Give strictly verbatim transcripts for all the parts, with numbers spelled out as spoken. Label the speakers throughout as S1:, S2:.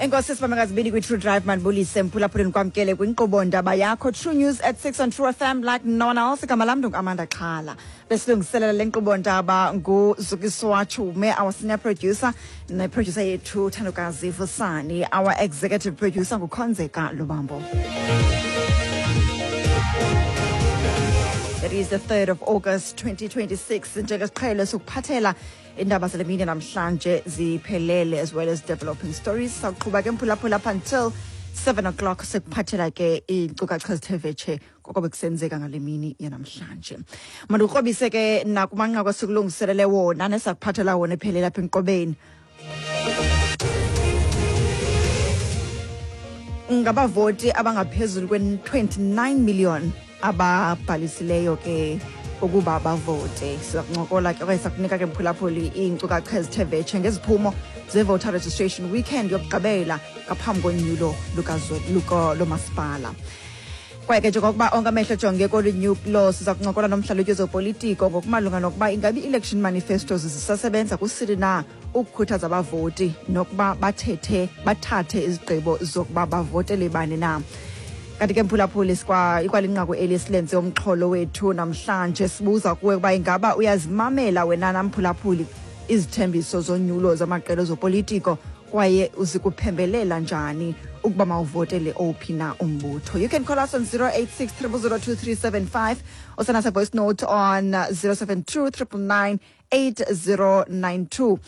S1: Enkosi sibamekazibini kwi-True Drive mandibulise mphulaphuleni kwamkele kwinkqubo ndaba yakho True News at six on True F M like no one else. Igama lam ndinguAmanda Xhala. Besilungiselela le nkqubo ndaba nguZukiswa Chume, our senior producer, ne-producer yethu Thandokazi Vusani, our executive producer nguKhonzeka Lubambo. It is the third of August twenty twenty-six. Njengesiqhelo sokuphathela indaba zale mini namhlanje ziphelele as well as developing stories. Saqhuba ke mphulaphula up until seven o'clock sekuphathela ke iinkcukacha ezithe vetshe koko bekusenzeka ngale mini yanamhlanje. Mandikrobise ke nakumanqaku esikulungiselele wona nesakuphathela wona ephelele apha enkqubeni. Ngabavoti abangaphezulu kwe-twenty-nine million ababhalisileyo ke ukuba bavote. Sizakuncokola ke okanye sizakunika ke mphulaphuli iinkcukacha ezithe vetshe ngeziphumo ze-voter registration weekend yokugqibela ngaphambi konyulo lomasipala. Kwaye ke njengokuba onke amehlo ejonge kolu nyulo, siza kuncokola nomhlalutyi wezopolitiko ngokumalunga nokuba ingabi i-election manifestos zisasebenza kusini na ukukhuthaza abavoti nokuba bathethe bathathe izigqibo zokuba bavotele bani na. Kanti ke mphulaphuli sikwa ikwalinqaku eli silenze umxholo wethu namhlanje, sibuza kuwe ukuba ingaba uyazimamela wena namphulaphuli izithembiso zonyulo zamaqela ezopolitiko kwaye uzikuphembelela njani ukuba mawuvotele owuphi na umbutho. You can call us on zero eight six triple zero two three seven five or send us a voice note on zero seven two triple nine eight zero nine two.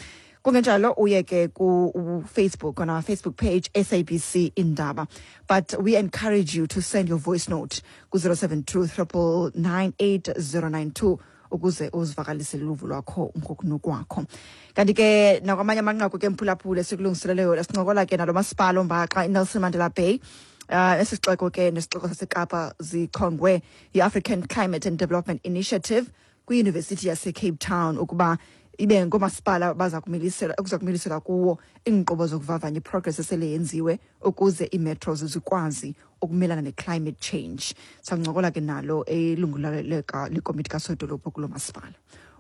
S1: Kungenjalo uye ke ku Facebook on our Facebook page S A B C Indaba. But we encourage you to send your voice note ku zero seven two triple nine eight zero nine two ukuze uzivakalise luvo lwakho ngokunokwakho. Kanti ke nakwamanye amanqaku ke mphulaphule sikulungiseleleyo sincokola ke nalo masipala ombaxa iNelson Mandela Bay. Uh, esixeko ke nesixeko saseKapa zichongwe yi-African Climate and Development Initiative kwiYunivesithi yaseCape Town ukuba ibe ngomasipala baza kumilisela okuza kumilisela kuwo iinkqubo zokuvavanya iprogress esele yenziwe ukuze ii-metros zikwazi ukumelana ne-climate change. Sancokola ke nalo elungu lekomiti kasodolophu kulo masipala.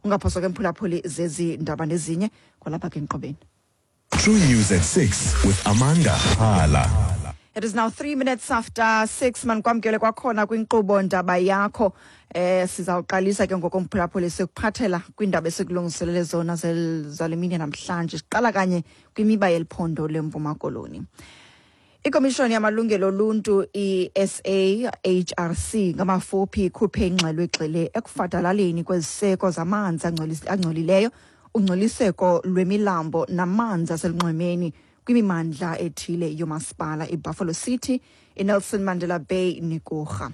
S1: Ungaphoswa ke mphulaphuli zezi ndaba nezinye kwalapha ke enkqubeni.
S2: True News at six with Amanda Xhala.
S1: It is now three minutes after six. Mandikwamkele kwakhona kwinkqubo ndaba yakho. Eh sizawuqalisa ke ngokomphulaphuli sikuphathela kwiindaba esikulungiselele zona zale mini namhlanje. Siqala kanye kwimiba yeliphondo leMpuma Koloni. Ikomishoni yamalungelo oluntu i-S A H R C ngamafuphi ikhuphe ingxelo egxile ekufadalaleni kweziseko zamanzi angcolileyo, ungcoliseko lwemilambo namanzi aselunxwemeni kwimimandla ethile yomasipala iBuffalo City, iNelson Mandela Bay neKurha.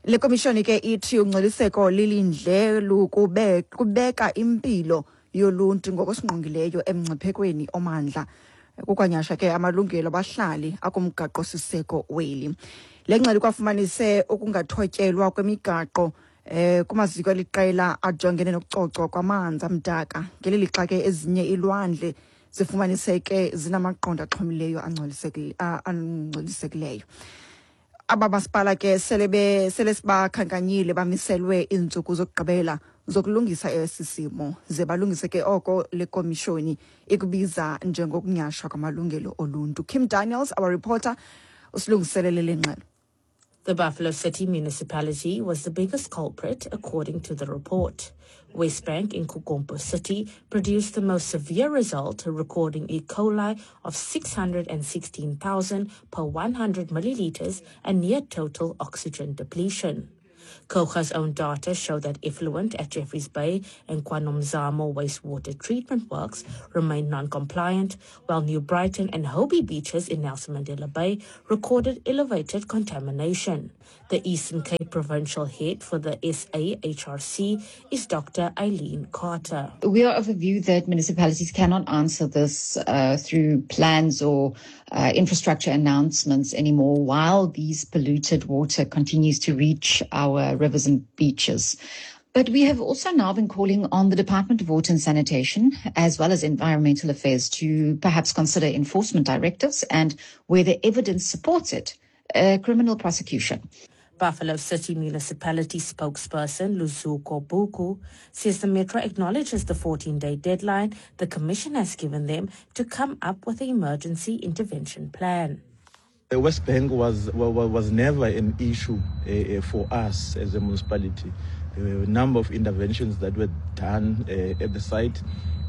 S1: Le komishoni ke ithi ungcoliseko lilindle lukube kubeka impilo yoluntu ngokusingqongileyo emngciphekweni omandla kukwanyasha ke amalungelo abahlali akumgaqo siseko weli. Le ngxelo kwafumanise ukungathotyelwa kwemigaqo eh kumaziko eliqela ajongene nokucocwa kwamanzi amdaka ngeli lixa ke ezinye ilwandle zifumaniseke zinamaqondo axhomileyo angcolisekileyo. Aba masipala ke sele be sele sibakhankanyile bamiselwe iintsuku zokugqibela zokulungisa esi simo ze balungise ke oko le komishoni ikubiza njengokunyashwa kwamalungelo oluntu. Kim Daniels, our reporter, usilungiselele le ngxelo.
S3: The Buffalo City municipality was the biggest culprit, according to the report. West Bank in KuGompo City produced the most severe result, recording E. coli of six hundred sixteen thousand per one hundred milliliters and near total oxygen depletion. Coga's own data show that effluent at Jeffreys Bay and KwaNomzamo wastewater treatment works remained non-compliant, while New Brighton and Hobie beaches in Nelson Mandela Bay recorded elevated contamination. The Eastern Cape Provincial Head for the S A H R C is Doctor Eileen Carter.
S4: We are of the view that municipalities cannot answer this uh, through plans or uh, infrastructure announcements anymore while these polluted water continues to reach our rivers and beaches. But we have also now been calling on the Department of Water and Sanitation, as well as Environmental Affairs, to perhaps consider enforcement directives and, where the evidence supports it, uh, criminal prosecution.
S3: Buffalo City Municipality spokesperson Luzuko Buku says the Metro acknowledges the fourteen-day deadline the Commission has given them to come up with an emergency intervention plan.
S5: The West Bank was, was never an issue uh, for us as a municipality. There were a number of interventions that were done uh, at the site.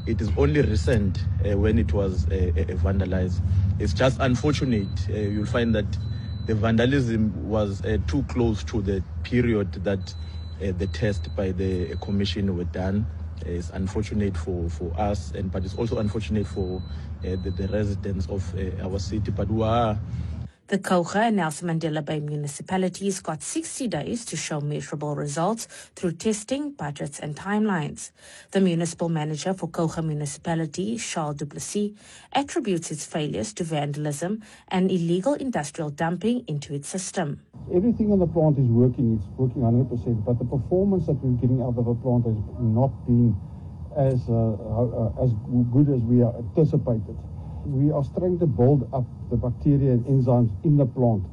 S5: It is only recent uh, when it was uh, uh, vandalized. It's just unfortunate. Uh, you'll find that the vandalism was uh, too close to the period that uh, the test by the commission were done. It's unfortunate for, for us, and but it's also unfortunate for uh, the, the residents of uh, our city. But we are...
S3: The Kouga and Nelson Mandela Bay municipalities got sixty days to show measurable results through testing, budgets and timelines. The municipal manager for Kouga Municipality, Charles Duplessis, attributes its failures to vandalism and illegal industrial dumping into its system.
S6: Everything in the plant is working. It's working one hundred percent, but the performance that we're getting out of the plant has not been as, uh, uh, as good as we anticipated. We are trying to build up the bacteria and enzymes in the plant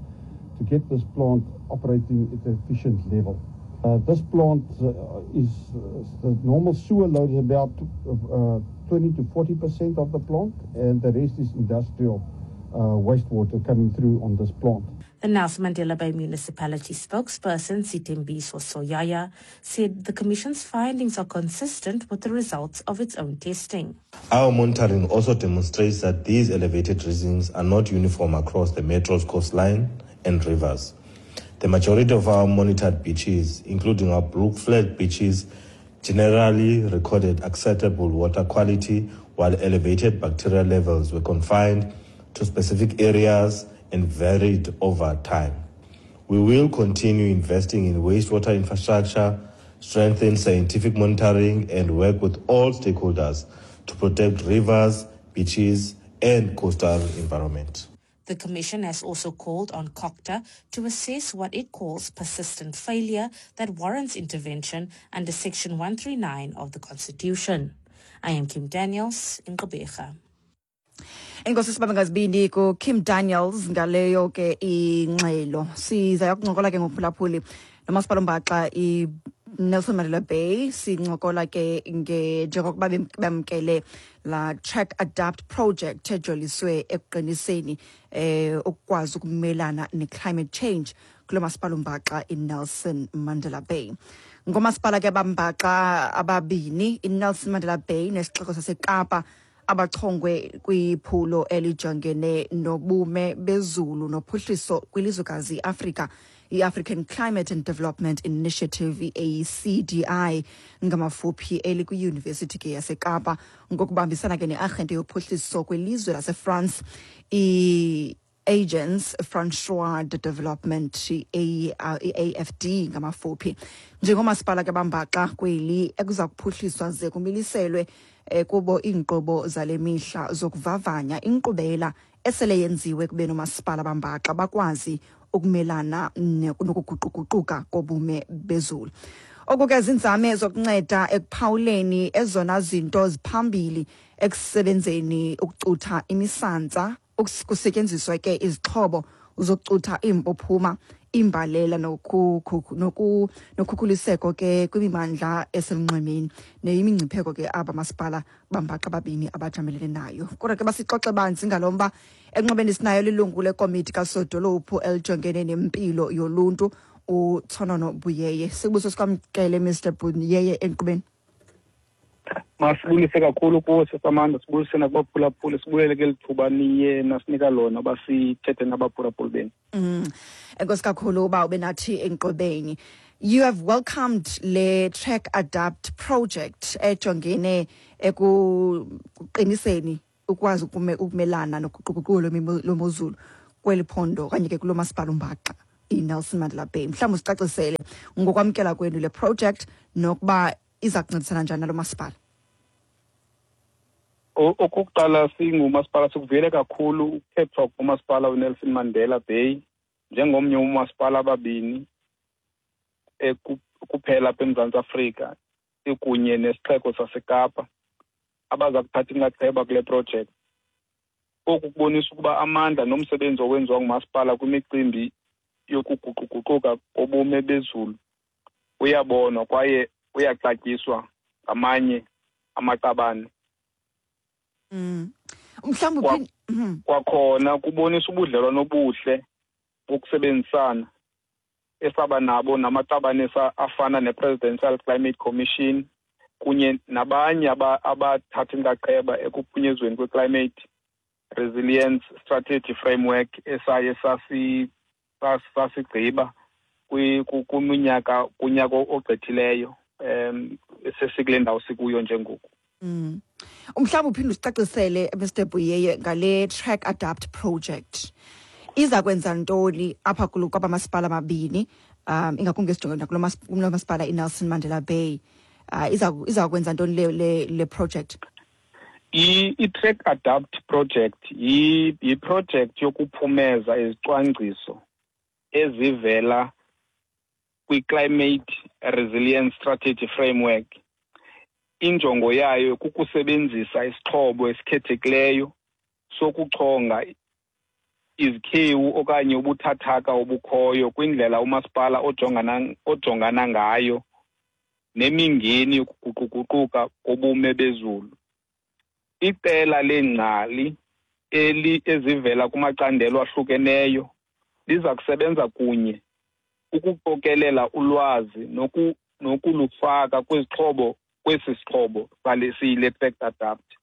S6: to get this plant operating at an efficient level. Uh, this plant uh, is, uh, the normal sewer load is about uh, twenty to forty percent of the plant, and the rest is industrial uh, wastewater coming through on this plant.
S3: The Nelson Mandela Bay Municipality spokesperson, Sithembiso Soyaya, said the Commission's findings are consistent with the results of its own testing.
S7: Our monitoring also demonstrates that these elevated readings are not uniform across the metro's coastline and rivers. The majority of our monitored beaches, including our Blue Flag beaches, generally recorded acceptable water quality, while elevated bacterial levels were confined to specific areas and varied over time. We will continue investing in wastewater infrastructure, strengthen scientific monitoring, and work with all stakeholders to protect rivers, beaches, and coastal environment.
S3: The Commission has also called on COGTA to assess what it calls persistent failure that warrants intervention under Section one thirty-nine of the Constitution. I am Kim Daniels in Gqeberha.
S1: Enkosi sibambe ngazibini ku Kim Daniels ngaleyo ke ingxelo. Siza yokuncokola ke ngophulaphuli nomasipala ombaxa i Nelson Mandela Bay, sincokola ke nge njengokuba bamkele la Track Adapt project ejoliswe ekuqiniseni eh ukwazi ukumelana ne climate change kulo masipala ombaxa i Nelson Mandela Bay. Ngomasipala ke bambaxa ababini i Nelson Mandela Bay nesixeko saseKapa abachongwe kwiphulo elijongene nobume bezulu nophuhliso kwilizwekazi iAfrika, i-African Climate and Development Initiative, i A C D I ngamafuphi, elikwi-University ke yaseKapa ngokubambisana ke ne-arhente yophuhliso kwilizwe laseFrance, i-Agence François de Development, i A F D ngamafuphi. Njengomasipala ke bambaxa kweli ekuza kuphuhliswa ze kumiliselwe kubo iinkqubo zale mihla zokuvavanya inkqubela esele yenziwe kube nomasipala bambaxa bakwazi ukumelana nokuguquguquka kobume bezulu. Oku ke zinzame zokunceda ekuphawuleni ezona zinto ziphambili ekusebenzeni ukucutha imisantsa, kusetyenziswa ke izixhobo zokucutha iimpophuma, imbalela nokhukhuliseko ke kwimimandla eselunxwemeni neyimingcipheko ke aba masipala bambaxa babini abajamelene nayo. Kodwa ke basixoxe banzi ngalo mba enqobeni sinayo lilungu lekomiti kasodolophu elijongene nempilo yoluntu uThonono Buyeye. Sibuso sikwamkele Mister Buyeye enkqubeni.
S8: Masibulise kakhulu kuwe Sisamanda, sibulise nakubaphulaphuli, sibulele ke lithuba niye nasinika lona basithethe nabaphulaphuli benu.
S1: Mm. Enkosi kakhulu uba ube nathi enkqubeni. You have welcomed le Track Adapt project ejongene ekuqiniseni ukwazi ukumelana nokuquququlo lwemozulu kweli phondo okanye ke kulo masipala umbaxa iNelson Mandela Bay. Mhlawumbi usicacisele ngokwamkela kwenu le project nokuba iza kuncedisana njani nalo masipala.
S8: Okokuqala singumasipala sikuvuyele kakhulu ukukhethwa kumasipala uNelson Mandela Bay njengomnye umasipala ababini kuphela apha eMzantsi Afrika ikunye nesixeko saseKapa abaza kuthatha inxaxheba kule project. Oku kubonisa ukuba amandla nomsebenzi owenziwa ngumasipala kwimicimbi yokuguquguquka kobume bezulu uyabonwa kwaye uyaxatyiswa ngamanye amaqabane.
S1: Mm. Mhlawumbi
S8: kwakhona kubonisa ubudlelwano obuhle bokusebenzisana esaba nabo namaqabane afana ne-Presidential Climate Commission kunye nabanye abathatha inxaxheba ekuphunyezweni kwe-Climate Resilience Strategy Framework esaye sasi sasigqiba kwiminyaka kunyaka ogqithileyo um sesikule ndawo sikuyo njengoku.
S1: Mm. Umhlawumbi uphinde usicacisele Mister Buyeye ngale Track Adapt project. Iza kwenza ntoni apha kwaba masipala mabini, um ingakumbi esijonge nakulo masipala iNelson Mandela Bay. Uh, iza iza kwenza ntoni le le, le project?
S8: I-Track Adapt project yi-project yokuphumeza izicwangciso ezivela kwi-Climate Resilience Strategy Framework. Injongo yayo kukusebenzisa isixhobo esikhethekileyo sokuchonga izikhewu okanye ubuthathaka obukhoyo kwindlela umasipala ojongana ojongana ngayo nemingeni yokuguquguquka kobume bezulu. Iqela leengcali eli ezivela kumacandelo ahlukeneyo liza kusebenza kunye ukuqokelela ulwazi noku nokulufaka kwizixhobo kwesi sixhobo siyile Track Adapt.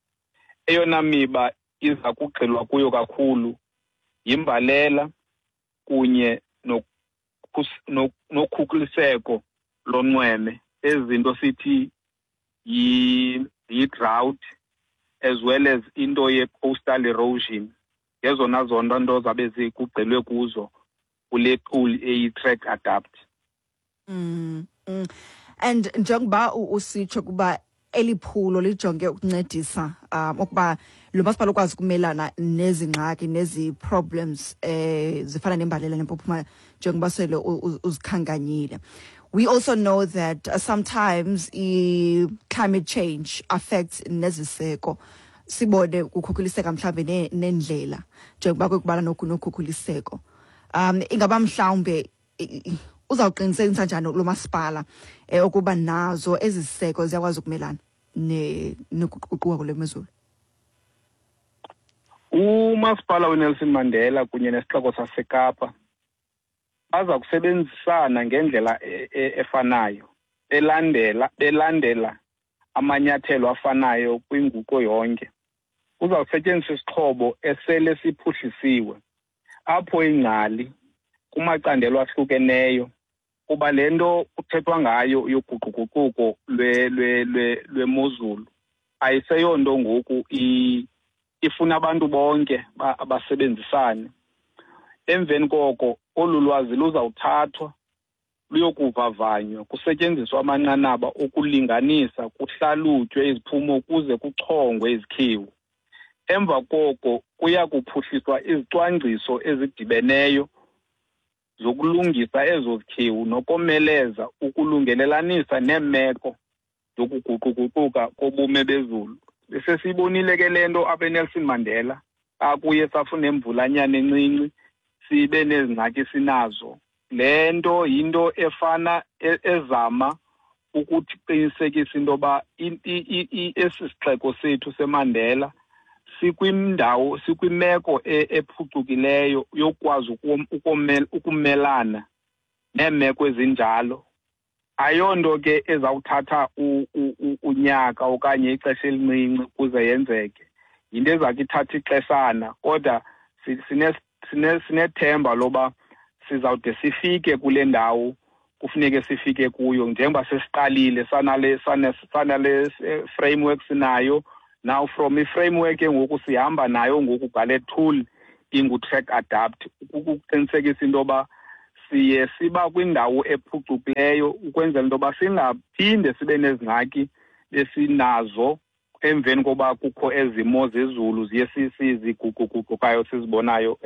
S8: Eyona miba iza kugxilwa kuyo kakhulu yimbalela kunye nokhukhuliseko lonxweme, ezinto sithi yi-drought as well as into ye-coastal erosion. Ngezona zonto nto zabe zikugxilwe kuzo kule tool eyi-Track Adapt.
S1: Mm, mm. And njengoba usitsho kuba eliphulo lijonge ukuncedisa um ukuba lo masipala ukwazi ukumelana nezi ngxaki nezi problems eh zifana nembalela nempuphuma njengoba sele uzikhankanyile. We also know that uh, sometimes i climate change affects neziseko, sibone kukhukhuliseka mhlambe nendlela njengoba kwekubala nokhukhuliseko. Um ingaba mhlawumbe uzawuqinisekisa njani lo masipala eh ukuba nazo eziseko ziyakwazi ukumelana ne nokuququka kulemezulu?
S8: Umasipala weNelson Mandela kunye nesixeko saseKapa baza kusebenzisana ngendlela efanayo belandela belandela amanyathelo afanayo kwinguqo yonke. Kuzawusetyenziswa isixhobo esele siphuhlisiwe apho ingcali kumacandelo ahlukeneyo, kuba le nto kuthethwa ngayo yoguquguquko lwemozulu ayiseyonto ngoku ifuna abantu bonke abasebenzisane. Emveni koko olu lwazi luzawuthathwa luyokuvavanywa kusetyenziswa amanqanaba okulinganisa, kuhlalutywe iziphumo ukuze kuchongwe izikhiwu. Emva koko kuya kuphuhliswa izicwangciso ezidibeneyo zokulungisa ezo zikhiwu nokomeleza ukulungelelanisa neemeko zokuguquguquka kobume bezulu. Sesiyibonile ke le nto apha eNelson Mandela, akuye safuna imvulanyana encinci sibe nezingxaki sinazo. Le nto yinto efana ezama ukuthi qinisekisa into yoba esi sixeko sethu seMandela sikwindawo sikwimeko ephucukileyo yokwazi ukumelana neemeko ezinjalo. Ayonto ke ezawuthatha unyaka okanye ixesha elincinci ukuze yenzeke, yinto ezakhe ithatha ixeshana, kodwa sinethemba loba sizawude sifike kule ndawo kufuneke sifike kuyo njengoba sesiqalile sanale sanale framework sinayo. Now from i-framework ngoku sihamba nayo ngoku ngale tool ingu-Track Adapt ukuqinisekisa into yoba siye siba kwindawo ephucukileyo ukwenzela into yoba singaphinde sibe nezingxaki besinazo emveni koba kukho ezimo zezulu ziye ziguquguqukayo sizibonayo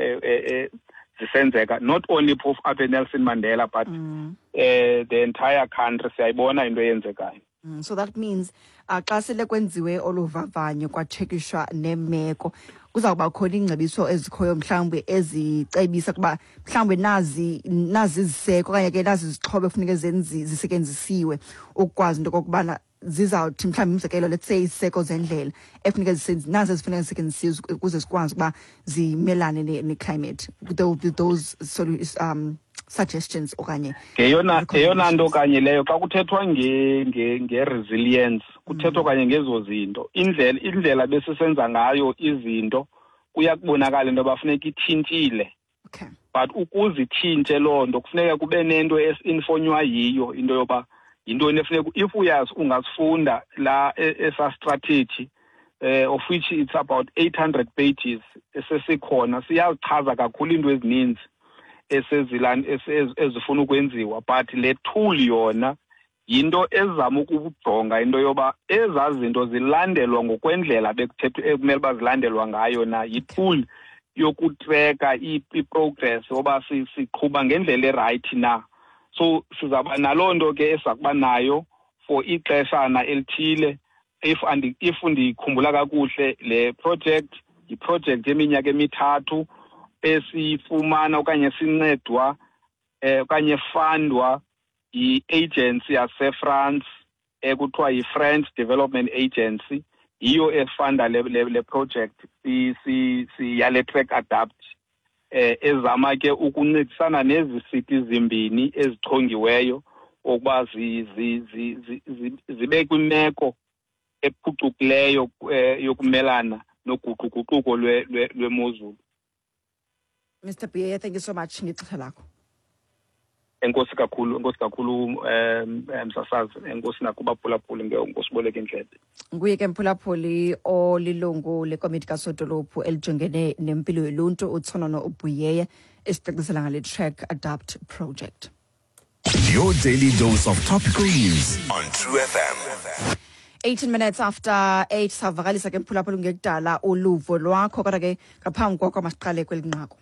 S8: zisenzeka, not only phofu apha eNelson Mandela but mm. uh, the entire country siyayibona into eyenzekayo.
S1: Mm, so that means uh, xa sele kwenziwe olu vavanyo kwatshekishwa nemeko Kuzawuba khona iingcebiso ezikhoyo mhlawumbi ezicebisa kuba mhlawumbi nazi nazi iziseko okanye ke nazi izixhobo ekufuneke zenzi zisetyenzisiwe ukukwazi into okokubana zizawuthi mhlawumbi, umzekelo, let's say iziseko zendlela ekufuneka zisenzi nazi ezifuneka zisetyenzisiwe ukuze zikwazi ukuba zimelane ne-climate. There will be those um suggestions okanye
S8: Ngeyona eyona nto kanye leyo. Xa kuthethwa nge-resilience, kuthethwa kanye ngezo zinto. Indlela indlela besisenza ngayo izinto kuyakubonakala into yoba funeka itshintshile.
S1: Okay
S8: but ukuze itshintshe loo nto, kufuneka kube nento esi-informwa yiyo into yoba yintoni efuneka. If uyazi, ungasifunda la esa strategy, eh of which it's about eight hundred pages esesikhona, siyazichaza kakhulu into ezininzi esezilani ezifuna ukwenziwa. But le tool yona yinto ezama ukujonga into yoba ezaa zinto zilandelwa ngokwendlela bekuthethwa ekumele uba zilandelwa ngayo na. Yi-tool yokutreka i-progress oba siqhuba ngendlela erayithi na. So sizawuba naloo nto ke esiza kuba nayo for ixeshana elithile. if andi if ndikhumbula kakuhle, le project yiproject yeminyaka emithathu esiyifumana okanye sincedwa eh okanye fundwa yi-agency yaseFrance ekuthiwa yi-French Development Agency. Yiyo efunda le, le, le project si, si, si yale Track Adapt, eh ezama ke ukuncedisana nezi city zimbini ezichongiweyo ukuba zi, zi, zi, zi, zi, zibe kwimeko ephucukileyo eh, yokumelana noguquguquko lwemozulu.
S1: Mister Buyeye, thank you so much ngexesha lakho.
S8: Enkosi kakhulu, enkosi kakhulu, um msasazi. Enkosi nakubaphulaphuli ngosiboleka indlebe.
S1: Nguye ke, mphulaphuli, olilungu lekomiti kasodolophu elijongene nempilo yoluntu, uTshonono Buyeye, esicacisela ngale Track Adapt project.
S2: Your daily dose of topical news on True F M.
S1: eighteen minutes after eight. Savakalisa ke, mphulaphuli, ngekudala uluvo lwakho, kodwa ke ngaphambi koko masiqale kweli nqaku.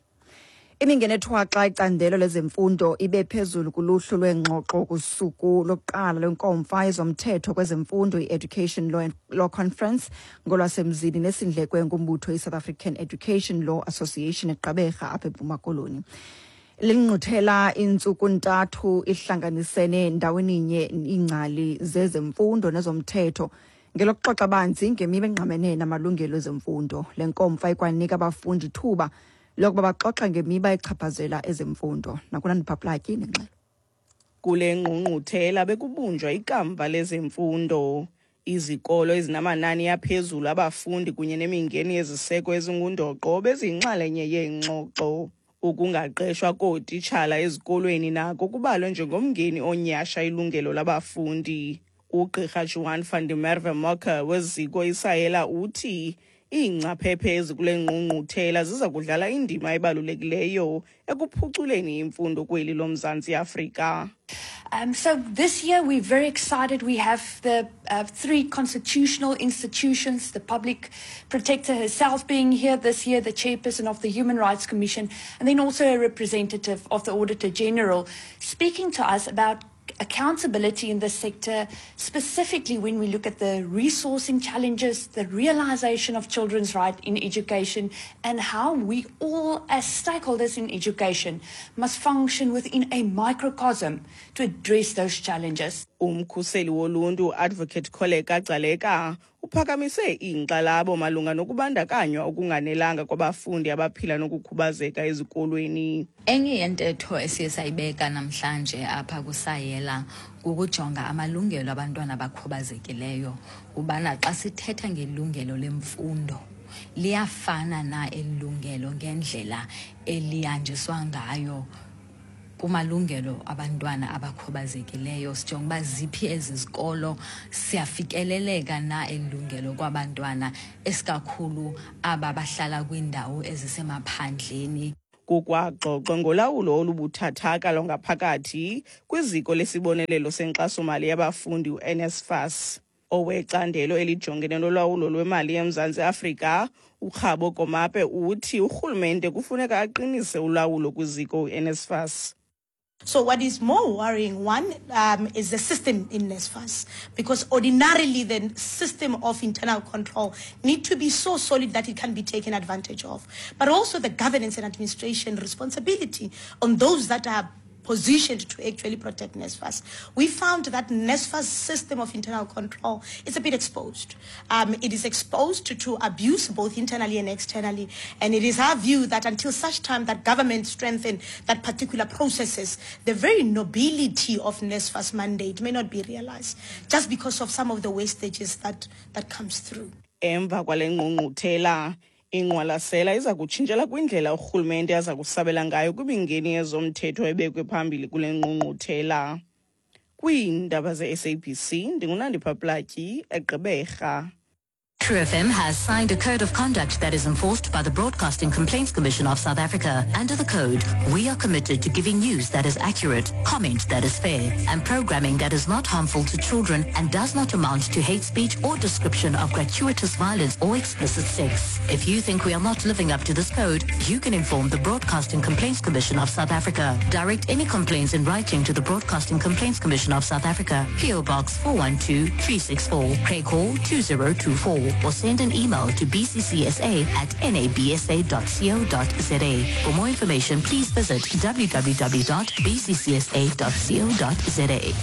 S1: Imingeni ethwaxa icandelo lezemfundo ibe phezulu kuluhlu lweengxoxo kusuku lokuqala lwenkomfa yezomthetho kwezemfundo, i-Education Law, Law Conference ngolwasemzini, nesindlekwe ngumbutho i-South African Education Law Association eGqeberha apha eMpuma Koloni. Lingquthela intsuku ntathu ihlanganisene ndaweninye iingcali zezemfundo nezomthetho ngelokuxoxa banzi ngemiba engqamene namalungelo ezemfundo. Le nkomfa ikwanika abafundi ithuba lokuba baxoxe ngemiba echaphazela ezemfundo. Nakunandipha Platyi nengxelo.
S9: Kule ngqungquthela bekubunjwa ikamva lezemfundo. Izikolo ezinamanani aphezulu abafundi kunye nemingeni yeziseko ezingundoqo beziyinxalenye yeengxoxo. Ukungaqeshwa kootitshala ezikolweni nako kubalwe njengomngeni onyhasha ilungelo labafundi. Ugqirha Juan van der Merwe Mocker weziko iSAELA uthi iingcaphephe ezikule ngqungquthela ziza kudlala indima ebalulekileyo ekuphuculeni imfundo kweli loMzantsi Afrika.
S10: Um, so this year we're very excited. We have the uh, three constitutional institutions, the public protector herself being here this year, the chairperson of the Human Rights Commission, and then also a representative of the Auditor General speaking to us about accountability in this sector, specifically when we look at the resourcing challenges, the realization of children's right in education, and how we all as stakeholders in education must function within a microcosm to address those challenges.
S9: Umkhuseli woluntu, Advocate Kholeka Gcaleka, uphakamise iinkxalabo malunga nokubandakanywa okunganelanga kwabafundi abaphila nokukhubazeka ezikolweni.
S11: Enye yentetho esiye sayibeka namhlanje apha kuSAELA kukujonga amalungelo abantwana abakhubazekileyo, ubana xa sithetha ngelungelo lemfundo, liyafana na elungelo ngendlela elihanjiswa ngayo kumalungelo abantwana abakhubazekileyo. Sijonga uba ziphi ezi zikolo, siyafikeleleka na elungelo kwabantwana, esikakhulu aba bahlala kwiindawo ezisemaphandleni.
S9: Kukwaxoxwa ngolawulo olubuthathaka lwangaphakathi kwiziko lesibonelelo senkxasomali yabafundi, u-N S F A S. Owecandelo elijongene nolawulo lwemali eMzantsi Afrika, uKgabo Komape, uthi urhulumente kufuneka aqinise ulawulo kwiziko u-N S F A S.
S12: So what is more worrying, one, um, is the system in NSFAS, because ordinarily the system of internal control need to be so solid that it can be taken advantage of, but also the governance and administration responsibility on those that are positioned to actually protect NSFAS. We found that NSFAS system of internal control is a bit exposed. Um, it is exposed to, to abuse both internally and externally, and it is our view that until such time that government strengthen that particular processes, the very nobility of NSFAS mandate may not be realized just because of some of the wastages that, that comes through.
S9: Emva kwale ngqungquthela, ingqwalasela iza kutshintshela kwindlela urhulumente aza kusabela ngayo kwimingeni yezomthetho ebekwe phambili kule ngqungquthela. Kwiindaba ze-S A B C, ndinguNandipha Platyi, eGqeberha.
S13: True F M has signed a code of conduct that is enforced by the Broadcasting Complaints Commission of South Africa. Under the code, we are committed to giving news that is accurate, comment that is fair, and programming that is not harmful to children and does not amount to hate speech or description of gratuitous violence or explicit sex. If you think we are not living up to this code, you can inform the Broadcasting Complaints Commission of South Africa. Direct any complaints in writing to the Broadcasting Complaints Commission of South Africa, P O Box four one two three six four, Craig Hall two zero two four. Or send an email to b c c s a at n a b s a dot co dot z a. For more information, please visit w w w dot b c c s a dot co dot z a.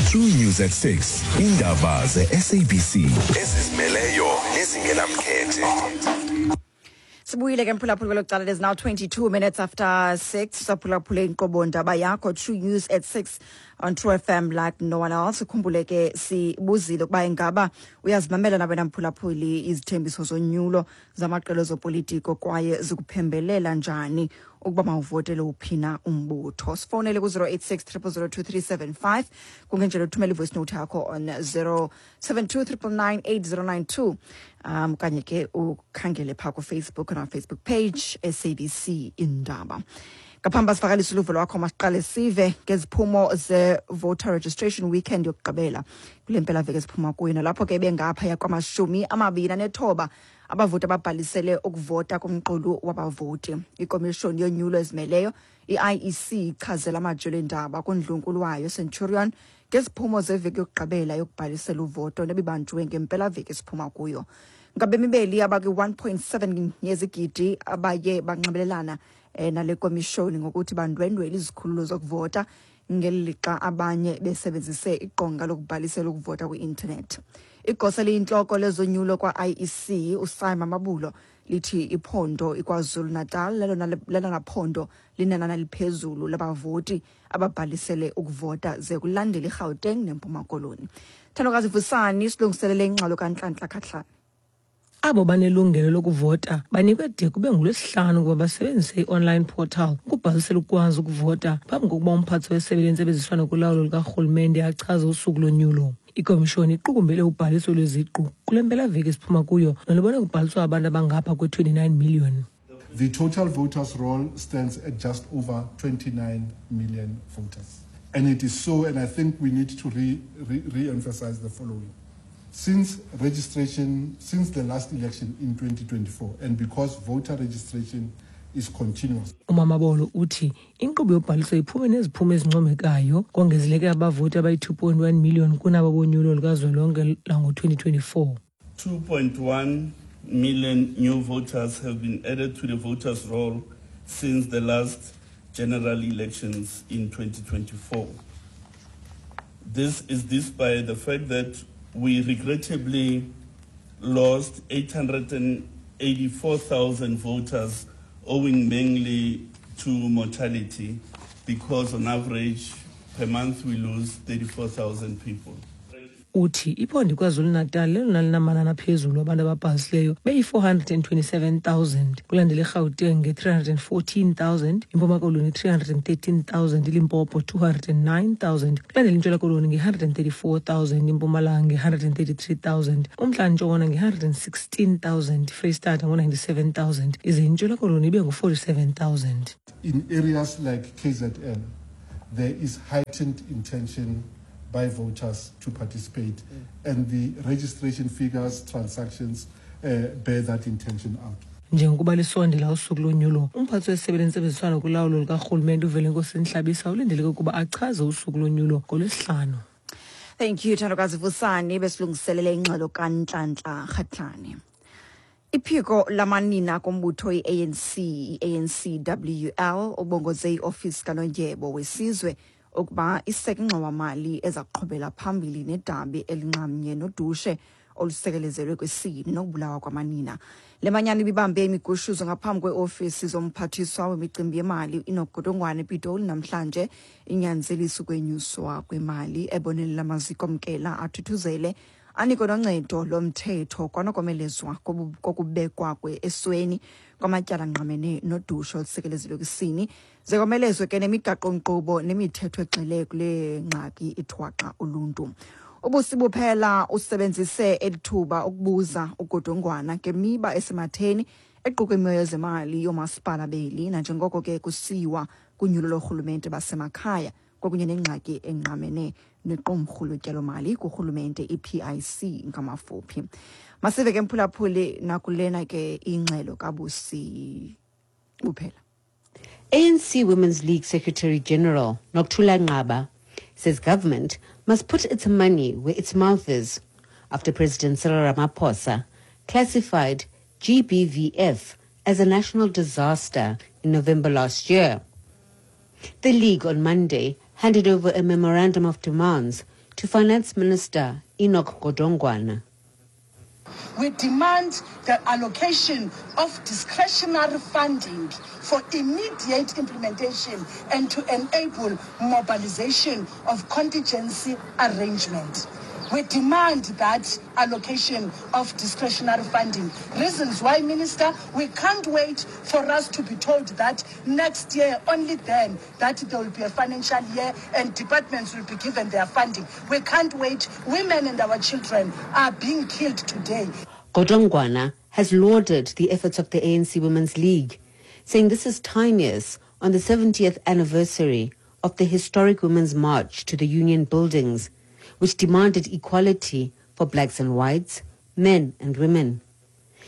S2: True News at six. Indaba ze-S A B C. Ezizimeleyo nezingenamkhethe.
S1: Sibuyile ke mphulaphuli kwelo cala. It is now twenty-two minutes after six. Saphulaphule inkqubo ndaba yakho True News at six on True F M like no one else. Ukhumbule ke sibuzile ukuba ingaba uyazimamela na wena mphulaphuli izithembiso zonyulo zamaqela ezopolitiko kwaye zikuphembelela njani ukuba mawuvotele uphina umbutho. Sifonele ku zero eight six triple zero two three seven five. Kungenjalo uthumele i-voice note yakho on zero seven two triple nine eight zero nine two. Um kanye ke ukhangele pha ku Facebook on our Facebook page S A B C Indaba. Ngaphambi sivakalise uluvo lwakho, masiqale sive ngeziphumo ze-voter registration weekend yokugqibela kule mpelaveki esiphuma kuyo, nalapho ke bengaphaya kwamashumi amabini anethoba abavoti ababhalisele ukuvota kumqulu wabavoti. Ikomishoni yonyulo ezimeleyo i-I E C ichazela amajelo eendaba kundlunkulu wayo Centurion ngeziphumo zeveki yokugqibela yokubhalisela uvoto nebibanjwe ngempelaveki esiphuma kuyo. Ngabemi beli abakwi-one point seven yezigidi abaye banxibelelana nale komishoni ngokuthi bandwendwele izikhululo zokuvota ngeli lixa abanye besebenzise iqonga lokubhalisela ukuvota kwi-intanethi. Igosa eliyintloko lezonyulo kwa-I E C uSimon Mabulo lithi iphondo iKwaZulu-Natal lelona lelona phondo linenani eliphezulu labavoti ababhalisele ukuvota ze kulandela iGauteng neMpuma Koloni. Thandokazi Vusani silungiselele ingxelo kaNhlanhla Khahlane.
S14: Abo banelungelo lokuvota banikwe de kube ngolwesihlanu ukuba basebenzise i-online portal ukubhalisela ukwazi ukuvota phambi kokuba umphathi wesebe lentsebenziswano kulawulo lukarhulumente achaze usuku lonyulo. Ikomishoni iqukumbele ubhaliso lweziqu kule mpelaveki esiphuma kuyo nolubone kubhaliswa abantu abangapha kwe-twenty-nine million.
S15: The total voters roll stands at just over twenty-nine million voters. And it is so, and I think we need to re, re, re-emphasize the following. Since registration, since the last election in twenty twenty-four, and because voter registration is continuous.
S14: UMamabolo uthi inkqubo yobhaliso iphume neziphumo ezincomekayo kongezeleke abavoti abayi-two point one million kunabo bonyulo lukazwelonke lango-twenty twenty-four.
S7: two point one million new voters have been added to the voters' roll since the last general elections in twenty twenty-four. This is despite the fact that we regrettably lost eight hundred eighty-four thousand voters owing mainly to mortality, because on average per month we lose thirty-four thousand people.
S14: Uthi iphondo iKwaZulu-Natal lelona linamanani aphezulu abantu ababhalisileyo beyi-four hundred and twenty-seven thousand, kulandela iGauteng nge-three hundred and fourteen thousand, iMpuma Koloni three hundred and thirteen thousand, iLimpopo two hundred and nine thousand, kulandela iNtshona Koloni nge-one hundred and thirty-four thousand, iMpumalanga nge-one hundred and thirty-three thousand, uMntla Ntshona nge-one hundred and sixteen thousand, iFreyistata ngo-ninety-seven thousand, ize iNtshona Koloni ibe ngu-forty-seven thousand.
S15: In areas like K Z N, there is heightened intention by voters to participate, mm. and the registration figures, transactions uh, bear that intention out.
S14: Njengokuba lisondela usuku lonyulo, umphathi wesebe lentsebenziswano kulawulo lukarhulumente uVelenkosi Nhlabisa ulindeleke ukuba achaze usuku lonyulo ngolwesihlanu.
S1: Thank you, Thandokazi Vusani, besilungiselele ingxelo kaNhlanhla Khatlane. Iphiko lamanina kombutho i-A N C, i-A N C W L, ubongoze iofisi kaNondyebo wesizwe ukuba iseke ingxowa-mali eza kuqhubela phambili nedabi elinxamnye nodushe olusekelezelwe kwisini nokubulawa kwamanina. Le manyano ibibambe imigushuzo ngaphambi kweofisi zomphathiswa wemicimbi yemali Enoch Godongwana ePitoli namhlanje, inyanzelisa ukwenyuswa kwemali ebonelela amaziko omkela athuthuzele anikwe noncedo lomthetho kwanokomelezwa kokubekwa esweni kwamatyala angqamene nodushe olusekelezelwe kwisini, ze komelezwe ke nemigaqo-nkqubo nemithetho egxile kule ngxaki ithwaxa uluntu. Ubusi Buphela usebenzise eli thuba ukubuza uGodongwana ngemiba esematheni equka imimoya yezemali yoomasipala beli nanjengoko ke kusiwa kunyulo lorhulumente basemakhaya kwakunye nengxaki engqamene nequmrhu lotyalomali kurhulumente i P I C ngamafuphi. Masive ke mphulaphuli nakulena ke ingxelo kaBusi Buphela.
S16: A N C Women's League Secretary General Nokuthula Nqaba says government must put its money where its mouth is after President Cyril Ramaphosa classified G B V F as a national disaster in November last year. The League on Monday handed over a memorandum of demands to Finance Minister Enoch Godongwana.
S17: We demand the allocation of discretionary funding for immediate implementation and to enable mobilization of contingency arrangement. We demand that allocation of discretionary funding. Reasons why, Minister, we can't wait for us to be told that next year, only then, that there will be a financial year and departments will be given their funding. We can't wait. Women and our children are being killed today.
S16: Godongwana has lauded the efforts of the A N C Women's League, saying this is timeous on the seventieth anniversary of the historic Women's March to the Union Buildings, which demanded equality for blacks and whites, men and women.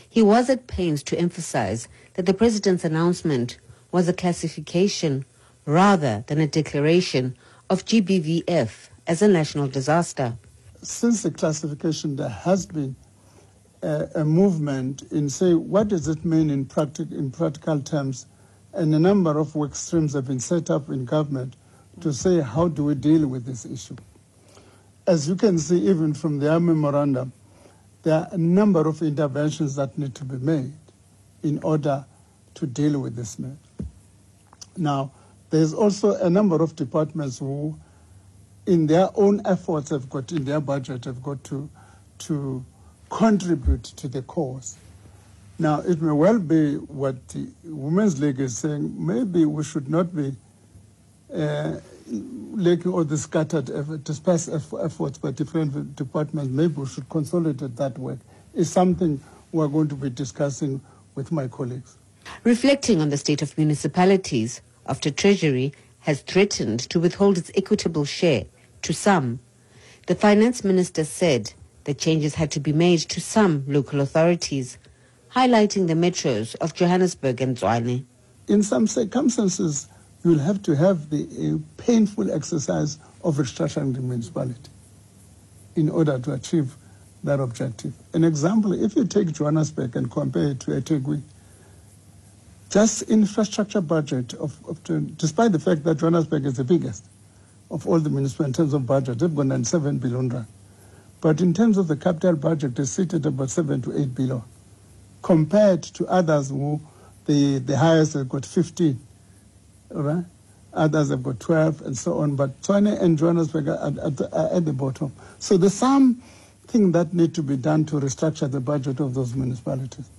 S16: He was at pains to emphasize that the president's announcement was a classification rather than a declaration of G B V F as a national disaster.
S15: Since the classification, there has been a, a movement in, say, what does it mean in, practic- in practical terms? And a number of work streams have been set up in government to say, how do we deal with this issue? As you can see, even from their memorandum, there are a number of interventions that need to be made in order to deal with this matter. Now, there's also a number of departments who, in their own efforts, have got in their budget, have got to, to contribute to the cause. Now, it may well be what the Women's League is saying, maybe we should not be uh, looking all the scattered, effort, dispersed efforts by different departments. Maybe we should consolidate that work. It's something we're going to be discussing with my colleagues.
S16: Reflecting on the state of municipalities after Treasury has threatened to withhold its equitable share to some, the finance minister said the changes had to be made to some local authorities, highlighting the metros of Johannesburg and Tshwane.
S15: In some circumstances, you'll have to have the uh, painful exercise of restructuring the municipality in order to achieve that objective. An example, if you take Johannesburg and compare it to eThekwini, just infrastructure budget, of, of to, despite the fact that Johannesburg is the biggest of all the municipalities in terms of budget, they've got ninety-seven billion rand. But in terms of the capital budget, they sit at about seven to eight billion, compared to others who the, the highest have got fifteen. All right? Others have got twelve and so on, but Tshwane and Johannesburg are at, at, are at the bottom. So there's something that need to be done to restructure the budget of those municipalities.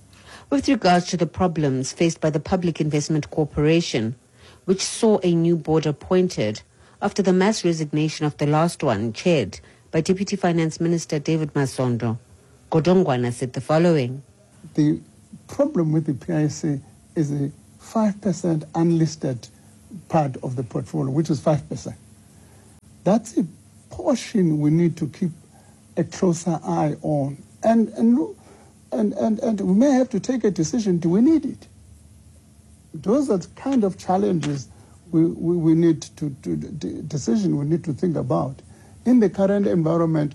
S16: With regards to the problems faced by the Public Investment Corporation, which saw a new board appointed after the mass resignation of the last one, chaired by Deputy Finance Minister David Masondo, Godongwana said the following.
S15: The problem with the P I C is a five percent unlisted part of the portfolio, which is five percent. That's a portion we need to keep a closer eye on. And, and look, And, and, and we may have to take a decision, do we need it? Those are the kind of challenges we, we, we need to, to, to decision we need to think about. In the current environment,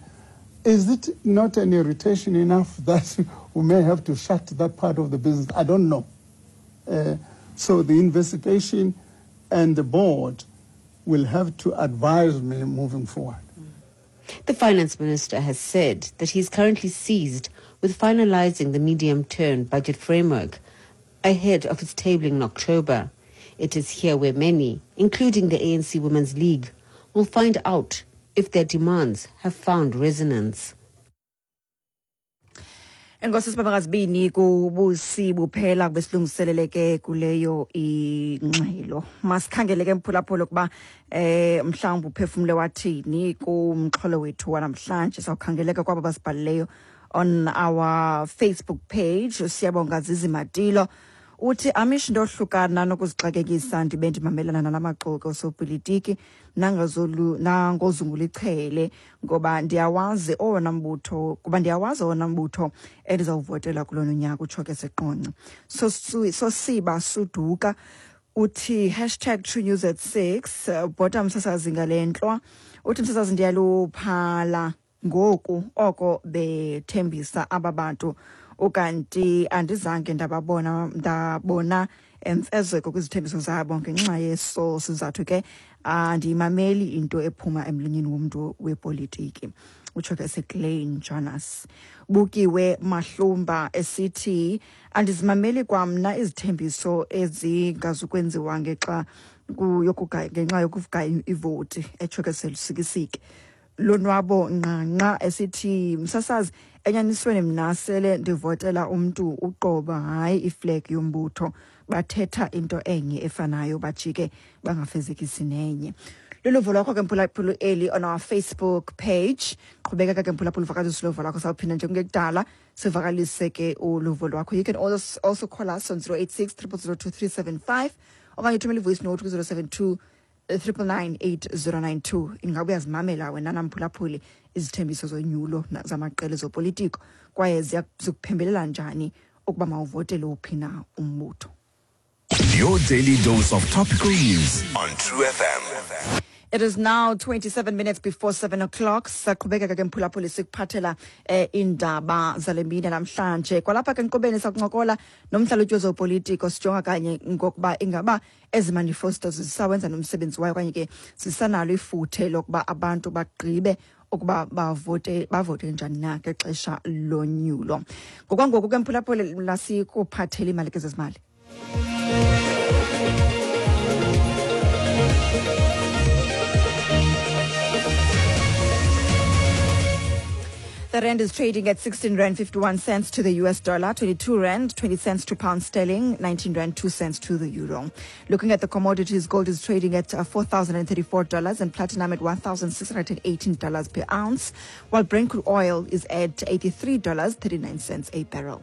S15: is it not an irritation enough that we may have to shut that part of the business? I don't know. Uh, so the investigation and the board will have to advise me moving forward.
S16: The finance minister has said that he is currently seized with finalizing the medium-term budget framework ahead of its tabling in October. It is here where many, including the A N C Women's League, will find out if their demands have found resonance.
S1: Enkosi sibabakazibini kubusi buphela besilungiseleleke kuleyo ingxelo. Masikhangele ke mphulaphula kuba eh mhlawumbe uphefumule wathini kumxholo wethu wanamhlanje. Sawukhangeleka kwabo basibhalileyo on our Facebook page. Siyabonga Zizi Matilo uthi amish ndohlukana nokuzixakekisa ndibe ndimamelana nalamaxoki osopolitiki nangazulu nangozungula ichele ngoba ndiyawazi owona mbutho kuba ndiyawazi owona mbutho endizawuvotela kulona nyaka, utsho ke seqonce. So sosiba suduka uthi hashtag True News at six. Bhota msasazi ngale ntlwa uthi msasazi ndiyaluphala ngoku oko bethembisa aba bantu ukanti andizange ndababona ndabona emfezeko kwizithembiso zabo ngenxa yeso sizathu ke andiyimameli into ephuma emlonyeni womntu wepolitiki, utsho ke seClaine Jonas. Bukiwe Mahlumba esithi andizimameli kwamna izithembiso ezingazukwenziwa ngexa ngenxa yokuvuka ivoti, etsho ke selusikisiki. Lonwabo Nqanqa esithi msasazi enyanisweni mna sele ndivotela umntu uqoba hayi iflag yombutho, bathetha into enye efanayo bajike bangafezekisi nenye. Luluvo lwakho ke mphulaphula eli on our Facebook page. Qhubeka ke mphulaphula uvakalise uluvo lwakho, sawuphinda nje kungekudala sivakalise ke uluvo lwakho. You can also, also call us on zero eight six triple zero two three seven five okanye uthumele i-voice note ku zero seven two triple nine eight zero nine two. Ingabe uyazimamela wena namphulaphuli izithembiso zonyulo zamaqela ezopolitiko kwaye zikuphembelela njani ukuba mawuvotele uphi na umbutho.
S2: Your daily dose of topical news on True F M.
S1: It is now twenty-seven minutes before seven o'clock. Saqhubeka ke mphulaphuli sikuphathela eh, indaba zale mini namhlanje. Kwalapha ke nkobeni sakuncokola nomhlalutyi wezopolitiko sijonga kanye ngokuba ingaba ezi manifestos zisawenza nomsebenzi wayo okanye ke zisanalo ifuthe lokuba abantu bagqibe ukuba bavote bavote njani na ngexesha lonyulo. Ngokwangoku ke mphulaphuli lasikuphathela imali ke zezimali. The rand is trading at sixteen rand fifty-one cents to the U S dollar, twenty-two rand twenty cents to pound sterling, nineteen rand two cents to the euro. Looking at the commodities, gold is trading at four thousand thirty-four dollars and platinum at one thousand six hundred eighteen dollars per ounce, while Brent crude oil is at eighty-three dollars thirty-nine cents a barrel.